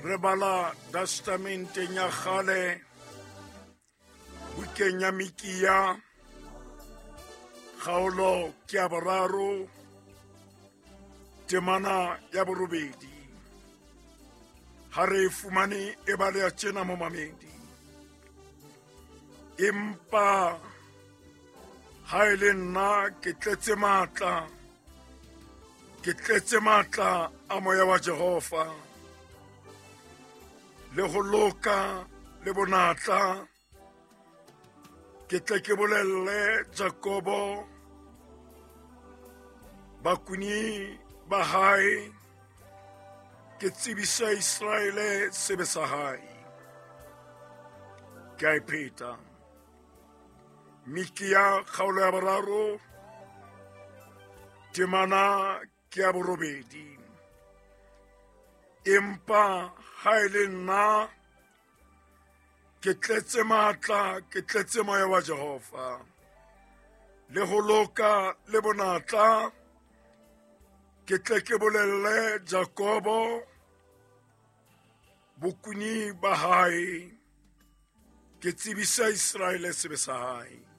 Re bala testamenteng ya kgale, bukeng ya Mikiya, kgaolo ke ya 3, temana ya 8. Ha re e fumane e baleha tjena momamedi. Empa ha e le nna ke tletse matla, ke tletse matla a moya wa Jehova, le ho loka le bonatla, ke tle ke bolelle Jakobo bakuni ba hae, ke tsebise Iseraele sebe sa hae. Ke a e pheta. Mikiya kgaolo ya 3, temana ke ya 8. Empa ha e le nna ke tletse matla, ke tletse moya wa Jehova, le ho loka le bonatla, ke tle ke bolelle Jakobo bokuni ba hae, ke tsebise Iseraele sebe sa hae.